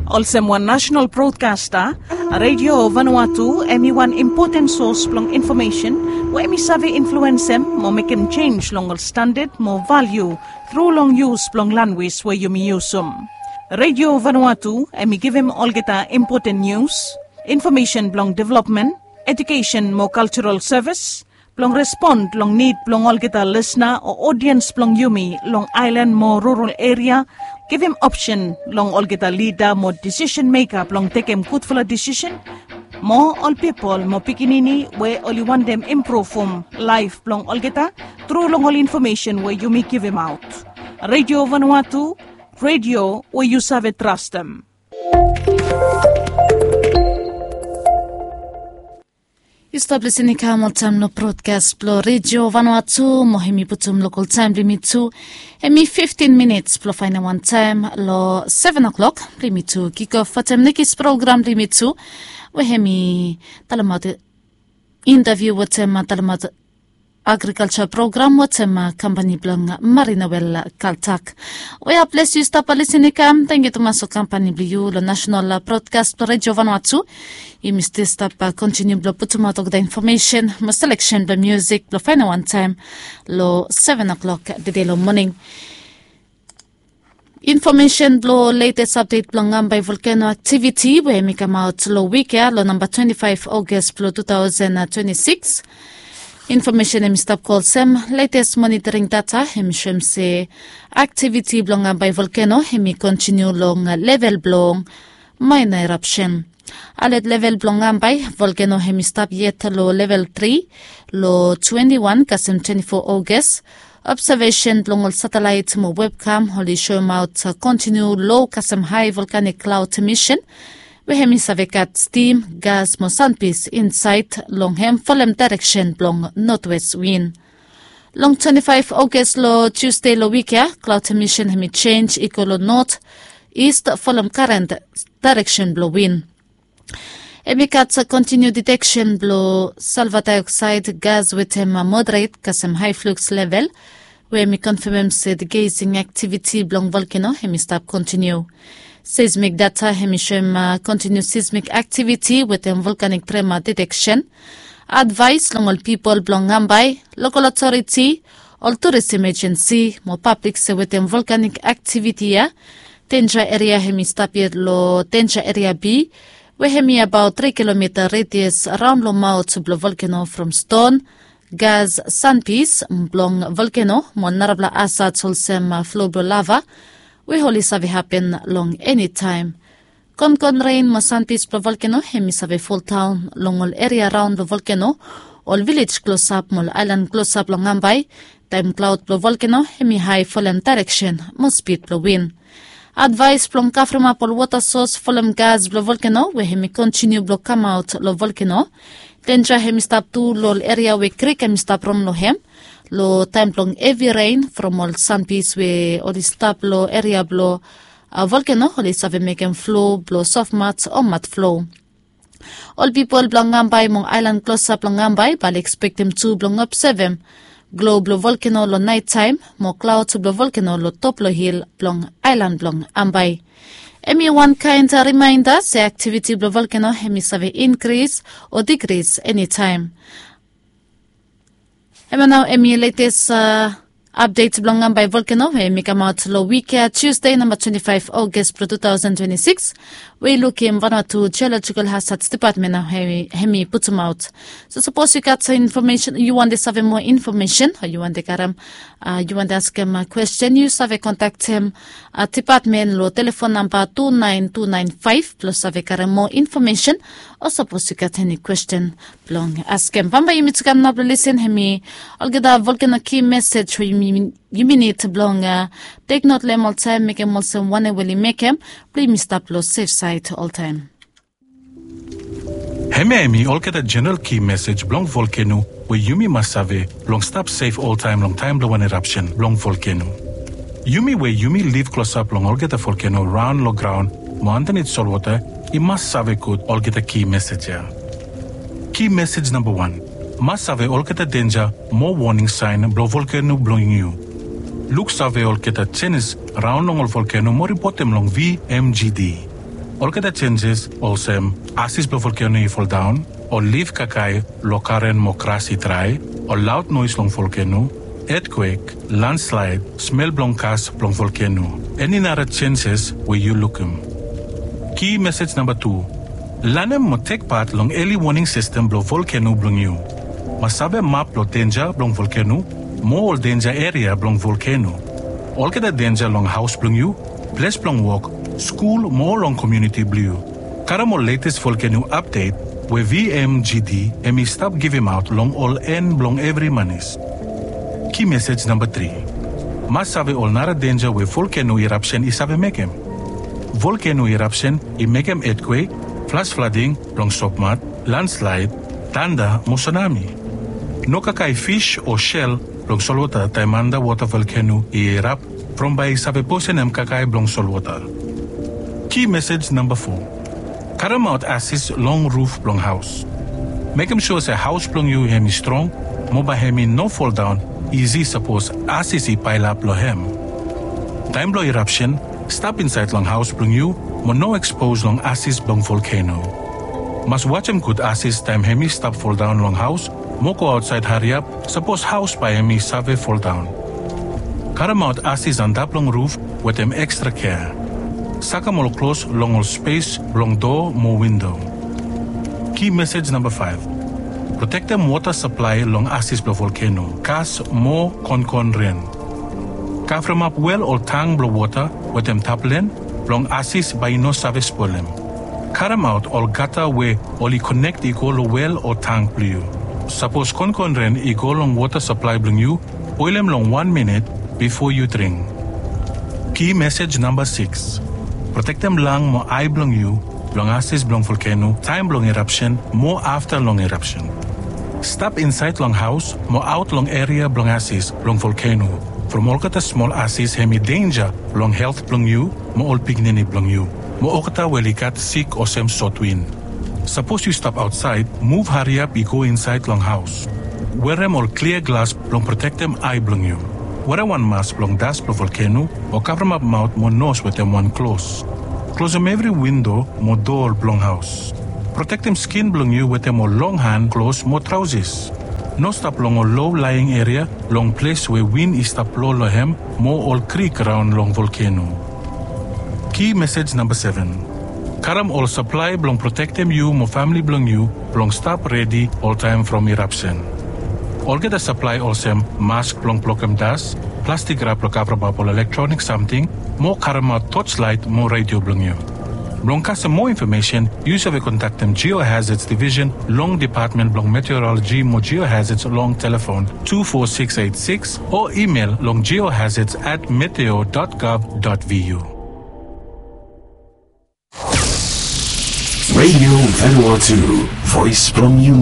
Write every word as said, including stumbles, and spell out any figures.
Olsem wan nasenal brodkasta, Redio Vanuatu hem i wan impoten sos blong infomesen we hem i save influensem mo mekem jenis long ol standad mo valiu tru long yus blong lanwis we yumi yusum. Redio Vanuatu hem i givim olgeta impoten nius, infomesen blong developmen, ejukesen mo kaljaral sevis, blong respon long nid blong olgeta lisna o odiens blong yumi long aelan mo rural eria, givim opsen long olgeta lida mo disisen meka blong tekem gudfala disisen, mo ol pipol mo pikinini we oli wantem impruvum laef blong olgeta tru long ol infomesen we yumi givimaot. Redio Vanuatu, redio we yu save trastem. Yu stap lisin i kam oltaem long brodkas blong Redio Vanuatu mo hem i putum lokal taem blong yumi tu. Hem i fiftin minits blong faenem wantaem long seven o'clock blong yumi tu kikof wetem nekis program blong yumi tu, we hem i talemaot intaviu wetem talemaot agrikalja program wetem kampani blong Marina Wel Kaltak. We a ples yu stap lisin i kam, tangkiu tumas long kampani blong yu long nasenal brodkas blong Redio Vanuatu. Yumi stil stap kontiniu blong putumaot olgeta infomesen mo seleksen blong miusik blong faenem wantaem long seven o'clock tede long moning. Infomesen blong letes apdet blong Ambae volkeno aktiviti we hem i kamaot long wik ya long namba twenti faef Oges blong tu taosen twenti sikis. Infomesen hem i stap go olsem, letes monitoring data hem i soem se aktiviti blong Ambae volkeno hem i kontiniu long level blong maena erapsen. Alet level blong Ambae volkeno hem i stap yet long level tri long twenti wan kasem twenti fo Oges. Obsevesen blong ol satelaet mo webkam oli soemaot kontiniu lo kasem hae volkanik klaod emisen we hem i save gat stim, gas mo sanpis insaed long hem folem daereksen blong notwes win. Long twenti faef Oges long Tusde long wik ya, klaod emisen hem i jenj i go long not, ist folem karen daereksen blong win. Hem i gat kontiniu diteksen blong salva daeoksaed gas wetem moderet kasem hae fluks level, we hem i konfamem se degesing aktiviti blong volkeno hem i stap kontiniu. Seismik data hem i soem kontiniu seismik aktiviti wetem volkanik trema diteksen. Advaes long ol pipol blong Ambae, lokal otoriti, ol turis emejensi mo pablik se wetem volkanik aktiviti ya, denja eria hem i stap yet long denja eria B, we hem i abaot tri kilomita redias raon long maot blong volkeno from ston, gas, sanpis blong volkeno mo narafala asat olsem flo blong lava we oli save hapen long enitaem. Konkon ren mo sanpis blong volkeno hem i save foldaon long ol eria raon blong volkeno, ol vilej klosap mo ol aelan klosap long Ambae, taem klaod blong volkeno hem i hae folem daereksen mo spid blong win. Advaes blong kavremap ol wota sos folem gas blong volkeno we hem i kontiniu blong kamaot long volkeno. Denja hem i stap tu long ol eria we krik hem i stap ron long hem, long taem blong hevi ren from ol sanpis we oli stap long eria blong volkeno oli save mekem flo blong sofmat o matflo. Ol pipol blong Ambae mo aelan klosap long Ambae bae oli ekspektem tu blong obsevem glo blong volkeno long naetaem mo klaod blong volkeno long top long hil blong aelan blong Ambae. Hem i wan kaen rimaenda se aktiviti blong volkeno hem i save inkris o dikris enitaem. Hemia nao hem i letes apdet blong Ambae volkeno we hem i kamaot long wik ya Tusde namba twenti faef Oges blong tu taosen twenti sikis, we i lukim Vanuatu Jeolojikal Hazad Dipatmen nao hem i putumaot. So sapos yu gat infomesen, yu wantem save moa infomesen o yu wantem karem, yu wantem askem kwesten, yu save kontaktem dipatmen long telefon namba tu naen tu naen faef blong save karem moa infomesen, o sapos yu gat eni kwesten blong askem. Bambae yumi tu kam nao blong lisin hemi olgeta volkeno ki mesej we yumi nid blong teknot long hem oltaem, mekem olsem wanem we oli mekem blong yumi stap long sefsaed oltaem. Hemia hemi olgeta jeneral ki mesej blong volkeno we yumi mas save blong stap sef oltaem long taem blong wan erapsen blong volkeno. Yumi we yumi liv klosap long olgeta volkeno raon long graon mo andanit solwota i mas save gud olgeta ki mesej ya. Ki mesej namba wan, mas save olgeta denja mo woning saen blong volkeno blong yu. Luksave olgeta jenis raon long ol volkeno mo ripotem long V M G D. Olgeta jenjes olsem asis blong volkeno i foldaon, ol lif kakae long garen mo gras i drae, ol laod noes long volkeno, etkwek, landslaed, smel blong gas blong volkeno, eni nara jenjes we yu lukim. Ki mesej namba tu. Lanem mo tek pat long eli woning sistem blong volkeno blong yu. Mas save map blong denja blong volkeno mo ol denja eria blong volkeno. Olgeta denja long haos blong yu, ples blong wok, skul mo long komuniti blong yu. Karem ol letes volkeno apdet we V M G D hemi stap givimaot long ol en blong evri manis. Ki mesej namba tri. Mas save ol nara denja we volkeno irapsen i save mekem. Volkeno irapsen i mekem etkwek, flas flading blong sopmat, landslaed, tanda mo sunami. No kakae fis o sel blong solwota taem andawota volkeno i irap, from bae i save posenem kakae blong solwota. Ki mesej namba fo. Karemaot asis long ruf blong haos. Mekem sua se haos blong yu hemi strong mo bae hemi no foldaon isi sapos asis i paelap long hem. Taem blong irapsen, stap insaed long haos blong yu mo no ekspos long asis blong volkeno. Mas wajem gud asis taem hemi stap foldaon long haos mo go aotsaed hariap sapos haos bae hemi save foldaon. Karemaot asis antap long ruf wetem ekstra kea. Sakem ol klos long ol spes blong doa mo windo. Ki mesej namba faef. Protektem wota saplae long asis blong volkeno, gas mo konkon ren. Kavremap wel o tang blong wota wetem taplen blong asis bae i no save spolem. Karemaot ol gata we oli konek i go long wel o tang blong yu. Sapos konkon ren i go long wota saplae blong yu, boelem long wan minit bifo yu dring. Ki mesej namba sikis. Protektem lang mo ae blong yu blong asis blong volkeno taem blong irapsen mo afta long irapsen. Stap insaed long haos mo aot long eria blong asis blong volkeno from olgeta smol asis hemi denja long helt blong yu mo ol pikinini blong yu mo olgeta we oli gat sik olsem sotwin. Sapos yu stap aotsaed, muv hariap i go insaed long haos. Werem ol klia glas blong protektem ae blong yu. Werem wan mas blong das blong volkeno o kavremap maot mo nos wetem wan klos. Klosem evri windo mo doa blong haos. Protektem skin blong yu wetem ol long han klos mo traosis. No stap long ol low laing eria long ples we win i stap blo long hem mo ol krik raon long volkeno. Ki mesej namba seven. Karem ol saplae blong protektem yu mo famle blong yu blong stap redi oltaem from irapsen. Olgeta saplae olsem mask blong blokem das, plastik rap blong kavremap ol elektronik samting, mo karemaot toslaet mo redio blong yu. Blong kasem moa infomesen, yu save kontaktem Geohazards Division long Depatmen blong Meteoroloji mo Geohazards long telefon tu fo sikis eit sikis o imel long geohazards at meteo dot gov dot vu. Radio Vanuatu, voice blong yu.